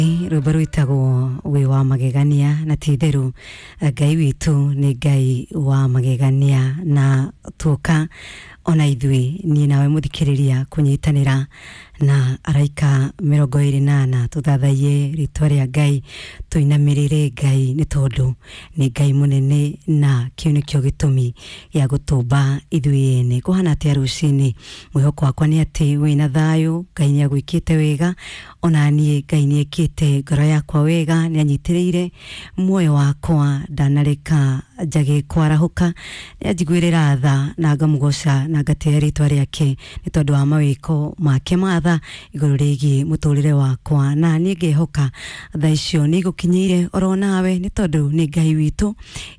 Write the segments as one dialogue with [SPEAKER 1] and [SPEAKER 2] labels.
[SPEAKER 1] Rwĩmbo rwĩtagwo "Wĩ wa Magegania", na ti itherũ Ngai witũ nĩ Ngai wa magegania, na tuoka ona ithuĩ niĩ nawe mũthikĩrĩria kũnyitanĩra na araika 24 tũthathaiye rĩtwa rĩa Ngai, tũinamĩrĩre Ngai, nĩ tondũ nĩ Ngai mũnene, na kĩu nĩkĩo gĩtũmi gĩa gũtũmba ithuĩ ene. Kũhana atĩa rũcinĩ? Mwĩhoko wakwa nĩ atĩ wĩna thayũ, Ngai nĩ agwĩkĩte wega. Ona niĩ Ngai nĩ ekĩte ngoro yakwa wega, nĩ anyitĩrĩire muoyo wakwa, ndanareka njage kwarahũka, nĩ anjiguĩrĩra tha, na ngamũgoca na ngatĩĩa rĩtwa rĩake nĩ tondũ wa mawĩko make ma tha igũrũ rĩgiĩ mũtũrĩre wakwa. Na niĩ ngehoka tha icio nĩ igũkinyĩire oro nawe, nĩ tondũ nĩ Ngai witũ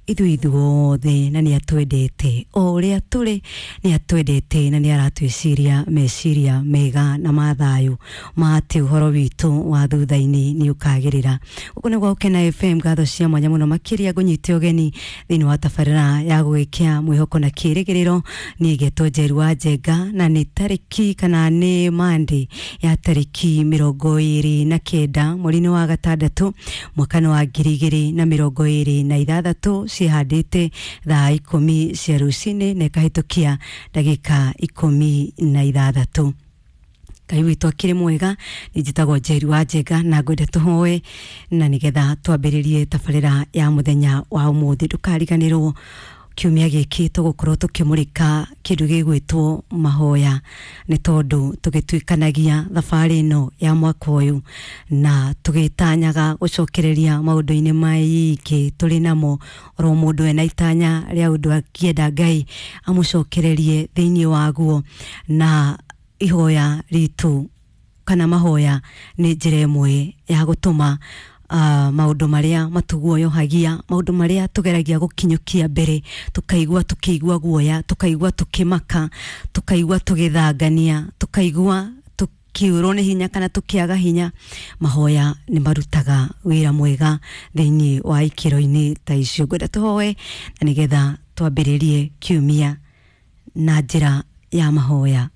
[SPEAKER 1] ithuĩ ithuothe, na nĩ atwendete o ũrĩa tũrĩ, nĩ atwendete na nĩ aratwĩciria meciria mega na ma thayũ, ma atĩ ũhoro witũ wa thutha-inĩ nĩ ũkagĩrĩra. Gũkũ nĩ gwa Gũkena FM. Ngatho cia mwanya mũno makĩria ngũnyite ũgeni thĩinĩ wa tabarĩra ya gũgĩkia mwĩhoko na kĩrĩgĩrĩro. Niĩ ngetwo Njeru wa Njenga, na nĩ tarĩki kana nĩ Monday ya tarĩki 29 mweri-inĩ wa gatandatũ, mwaka-inĩ wa 2026. Ciĩhandĩte thaa 10 cia rũcinĩ na ĩkahĩtũkia ndagĩka 16. Ngai witũ akĩrĩ mwega. Nĩ njĩtagwo Njeri wa Njenga, na ngwenda tũhoe na nĩgetha twambĩrĩrie tabarĩra ya mũthenya wa ũmũthĩ. Ndũkariganĩrwo kiumia gĩkĩ tũgũkorwo tũkĩmũrĩka kĩndũ gĩgwĩtwo mahoya, nĩ tondũ tũgĩtuĩkanagia thabarĩ ĩno ya mwaka ũyũ na tũgĩtanyaga gũcokereria maũndũ-inĩ maingĩ tũrĩ namo. Oro mũndũ ena itanya rĩa ũndũ akĩenda Ngai amũcokererie thĩinĩ waguo, na ihoya ritũ kana mahoya nĩ njĩra ĩmwe ya gũtũma maũndũ marĩa matuguoyohagia, maũndũ marĩa tũgeragia gũkinyũkia mbere, tũkaigua tũkĩigua guoya, tũkaigua tũkĩmaka, tũkaigua tũgĩthangania, tũkaigua tũkĩũrwo nĩ hinya kana tũkĩaga hinya. Mahoya nĩ marutaga wĩra mwega thĩinĩ wa ikĩro-inĩ ta icio. Ngwenda tũhoe na nĩgetha twambĩrĩrie kiumia na njĩra ya mahoya.